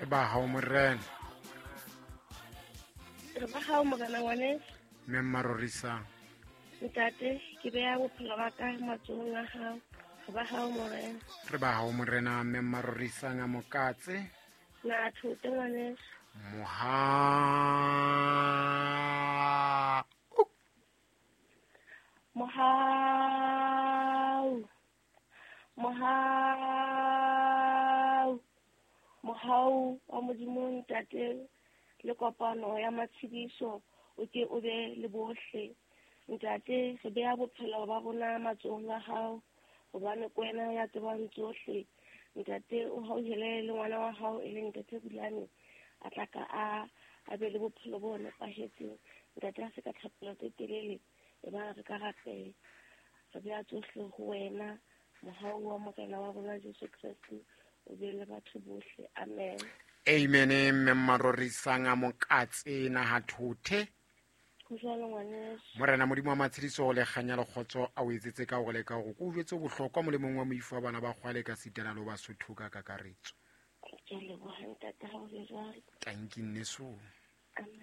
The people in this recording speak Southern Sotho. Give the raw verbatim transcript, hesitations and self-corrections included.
Re ba hao morena. Re ba hao morena ngwaneso. Mme mmarorisang. Ntate, ke beha bophelo ba ka matsohong a hao. Re ba hao morena. Re ba hao morena mme mmarorisang a mokatse. Na thote ngwaneso. Moha. Mohau. Mohau. Mohau wa Modimo ntate le kopano ya matshediso o ke o be le bohle. Ntate, re beha bophelo ba rona matsohong a hao hobane ke wena ya tsebang tsohle. Ntate, o hauhele le ngwana wa hao e leng ntate Bulane a tla ka a a be le bophelo bo nepahetseng. Ntate, a se ka thapelo tse telele e ba re ka rapela. Re beha tsohle ho wena. Mohau wa Morena wa rona Jesu Kreste o be le batho bohle. Amen. Amen. Mme mmarorisang a mokatse naha thothe. Ho jwalo ngwaneso. Morena Modimo wa matshediso le kganya le kgotso a o etsetse ka hore le ka hore ko jwetse bohlokwa molemong wa moifo wa bana ba kgwale ka sitana le Basotho ka kakaretso. Ke a leboha ntate ha o le jwalo. Tanki nneso. Amen.